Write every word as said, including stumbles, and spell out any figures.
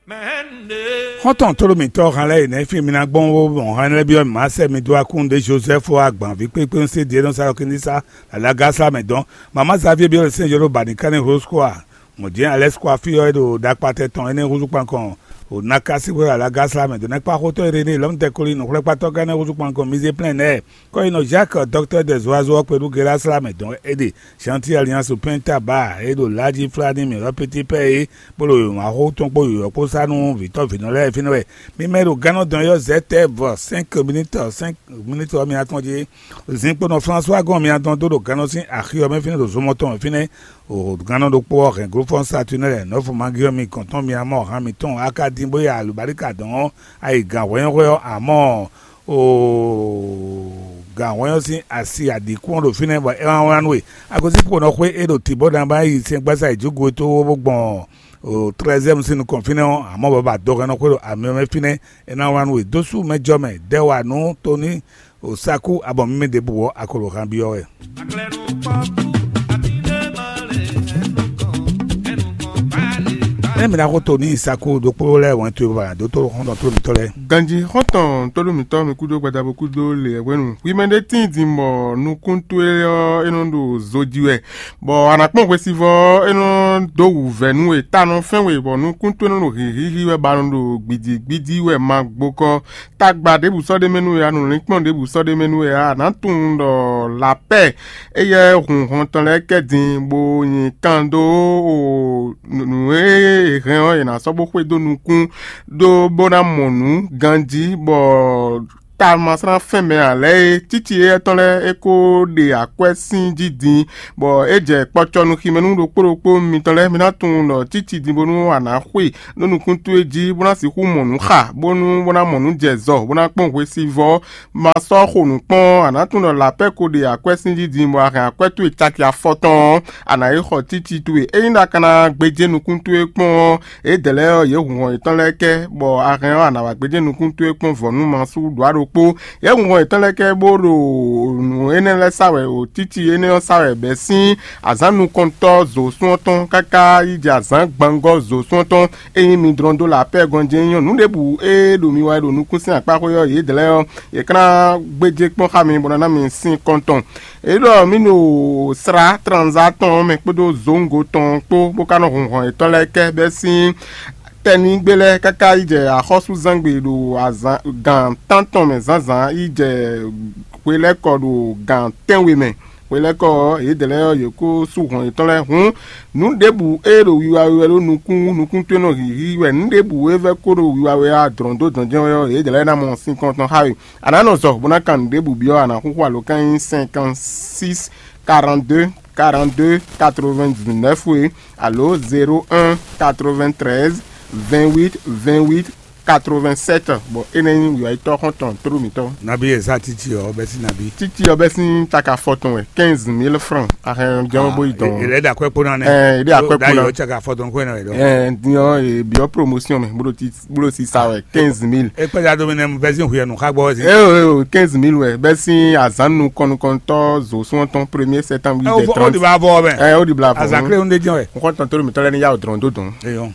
Xɔ́ntɔn tlóló mǐtɔn han lɛ́ɛ yi nɛ́ fí mi ná gbɔn ó mɔ han lɛ́ɛ byɔ́ mǐ má sɛ mi dó akún ɖé Jozɛ́fu agbanví kpékpé un sé Diɛ́nɔ́ Salɔkínísa alágásá mɛ dɔn. Mama Xavier byɔ́ lɛ sɛ́n jɔ́ ɖó bǎ ní ká ní hloskóa mɔ̌ jɛ́n alɛ́skóa fí ɔ́ é ɖo ɖakpatɛ tɔn énɛ́ húzú kpankɔn o Nakasi hwé alágásá mɛ dɔn. Nɛ́kpá xótɔ́ Eréné lɔ̌mdɛkoli nǔxwlɛ́kpatɔ́ ká énɛ́ húzú kpankɔn mizé plɛ́n nɛ́. Kɔ́yinɔ Jacques, docteur des oiseaux ɔ́ kpé ɖu Gelasla mɛ dɔn é ɖe Chantier Alliance Penta Ba é ɖo Laji Flani mɛ ɔ́ pété pɛ́ é, bó ɖo yǒyɔ́ tɔn kpó yǒyɔ́ kpó sá nú vǐtɔ́ vǐnɔ lɛ́ɛ fínɛ́ wɛ. Mi mɛ ɖo gannɔ dɔn ɔ́ zɛ̌ tɛ́ vɔ cinq minutes, cinq minutes ɔ́ mi atɔn jí. Zinkponɔ François gɔn mi atɔn dó ɖo gannɔ sín axi ɔ́ mɛ fínɛ́ ɖo zomɔ tɔn mɛ fínɛ́. O gannɔ ɖokpó ɔ́ hɛn glófɔ́n Saturnɛ́ nɔ́fu Magiɔmi gɔn tɔn mi amɔ han mitɔn Akadin bó ya alǔbáríka dɔn ɔ́, ayi gǎn hwɛ́nhwɛ́ ɔ́ amɔ o gǎnhɔn ɔ́ sín asi aɖǐkún ɔ́ ɖo fínɛ́ bɔ é wá wlán nú we. Agosín kpo nɔ xwé é ɖo tǐ bó ná ba yi sɛngbásá yi jǐgo tó bó gbɔn o trɛzɛ́mu sín nukɔn fínɛ́ ɔ́, amɔ̌ bɔ ba dɔhɛn nɔ xwé ɖo amyɔ mɛ fínɛ́. É ná wlán nú we dó sú mɛ jɔ mɛ dɛ́ wa nú Toni o Sakú abɔ mímí ɖěbǔ ɔ́, a ko ɖo han byɔ́ wɛ. Ée mi ná xo to n'i Saku ɖokpó lɛ́ɛ wɛn towe bɔ a nǎ dó tó xɔ́ntɔn tlóló mǐtɔn lɛ́ɛ. Ganjí xɔ́ntɔn tónú mǐtɔn mi kúdó gbadabo kúdó lě hwenu. Hwi mɛ ɖé tíin din bɔ nukún towe ɔ́ é nɔ ɖo zo ji wɛ, bɔ a nǎ kpɔ́n hwesivɔ́ ɔ́ é nɔ dó wǔvɛ́ nú we, ta nɔ fɛ́n we, bɔ nukún towe nɔ ɖo hǐhíhí wɛ, bɔ a nɔ ɖo gbǐdígbídí wɛ ma gbokɔ. Tagba ɖěbǔ sɔ́ ɖ'é mɛ nú we ǎ, nǔlinkpɔ́n ɖěbǔ sɔ́ ɖ'é mɛ nú we ǎ, a nǎ tunwun ɖɔ lapɛ́ éyɛ́ hun hɔn tɔn lɛ́ɛ kɛ din, bó nyi kan dó nǔ e è hɛn ɔ́, è nǎ sɔ́ bó xwedó nukún ɖó bó ná mɔ nǔ ganjí, bɔ tamasrán fɛn mɛ ǎ lɛ́ɛ é, cíci éyɛ́ tɔn lɛ́ɛ é ko ɖe akwɛ́ sín jí din, bɔ é jɛ kpɔcɔ nú ximɛ nú ɖokpó ɖokpó mitɔn lɛ́ɛ. Mi ná tunwun ɖɔ cíci din bónú a nǎ xwe ɖó nukún towe jí, bó ná sixú mɔ nǔ xa, bónú bó ná mɔ nǔ jɛ zɔ, bó ná kpɔ́n hwesivɔ́. Ma sɔ́ xo nǔ kpɔ́n ɔ́, a nǎ tunwun ɖɔ lapɛ́ ko ɖe akwɛ́ sín jí din, bɔ a hɛn akwɛ́ towe caki afɔ tɔn ɔ́, a nǎ yi xɔ cíci towe. Ényí ɖa ka ná gbéjé nukún towe kpɔ́n ɔ́, yědɛɛ lɛ́ɛ ɔ́, yě hun hɔn yětɔn lɛ́ɛ kɛ, bɔ a hɛn ɔ́, a nǎ wá gbéjé nukún towe kpɔ́n vɔ̌ nú ma sú ɖǒ ɖokpó. Yě hun hɔn yětɔn lɛ́ɛ kɛ bó ɖo nǔ énɛ́ lɛ́ɛ sa wɛ, o cíci énɛ́ ɔ́ sa wɛ bɛ́ sín azǎn nukɔntɔ́ zo sún ɔ́ tɔn káká yi jɛ azǎn gbangɔ́ zo sún ɔ́ tɔn. Ényí mi dlɔ́n dó lapɛ́ gɔn jɛ́n nyɔ́ nǔ ɖěbǔ e ɖo mi wa wɛ ɖo nukún sín akpáxwé ɔ́, yě dlɛ́ ɔ́, yě ká ná gbéjé kpɔ́n xá mi bó ná ná mi sín kɔn tɔn. É ɖɔ mǐ ɖo srá tranza tɔn ɔ́ mɛ kpódó zongo tɔn kpó, bó ka nɔ hun hɔn yětɔn lɛ́ɛ kɛ bɛ́ sín tɛnígbe lɛ́ɛ káká yi jɛ axɔ́súzángbe ɖo azǎn gǎn tántɔn mɛ zǎnzǎn yi jɛ hwelɛ́kɔ ɖo gǎn tɛ́nwe mɛ. Hwelɛ́kɔ ɔ́, yědɛɛ lɛ́ɛ ɔ́, yě kó sú hɔn yětɔn lɛ́ɛ. Hǔn nǔ ɖěbǔ e ɖo wiwa we wɛ ɖó nukún nukún towe nɔ hǐhí wɛ, nǔ ɖěbǔ e vɛ́ kó ɖo wiwa we ɔ́, a dlɔ̌n dó dɔ̌n jɛ́n wɛ ɔ́, yědɛɛ lɛ́ɛ ná mɔ sín kɔn tɔn xá we. A nǎ nɔ zɔ bó ná kan nǔ ɖěbǔ byɔ́, a nǎ xúxú alǒkan nyí cinquante six quarante deux quarante deux quatre vingt dix neuf we, alo zéro un quatre vingt treize vingt huit vingt huit quatre vingt sept. Bɔ énɛ́ nyí wǐwáyítɔ́ xɔ́ntɔn tlóló mǐtɔn. Nabi eza titi ɔ bɛ si nabi. Titi ɔ bɛ si taka fɔtɔn wɛ, quinze mille francs. Ahɛn jɔn bo yi dɔn. Ele da kwɛ kpona nɛ. Ɛ ele da kwɛ kpona. Caka fɔtɔn kwɛ nɛ dɔn. Ɛ diɔ e biɔ promotion mɛ bolo ti bolo si sa wɛ quinze mille. E kpɛ da do mi nɛ bɛ si huyɛ nu xa gbɔ si. Ɛ o ɛ o quinze mille wɛ bɛ si azan nu kɔnukɔntɔ zo sɔntɔn premier septembre. Ɛ o de ba vɔ mɛ. Ɛ o de bla vɔ. Azan kle o de jɔn wɛ. N kɔntɔn tlóló mǐtɔn lɛ ni ya o dɔrɔn do dɔn. Eyɔn.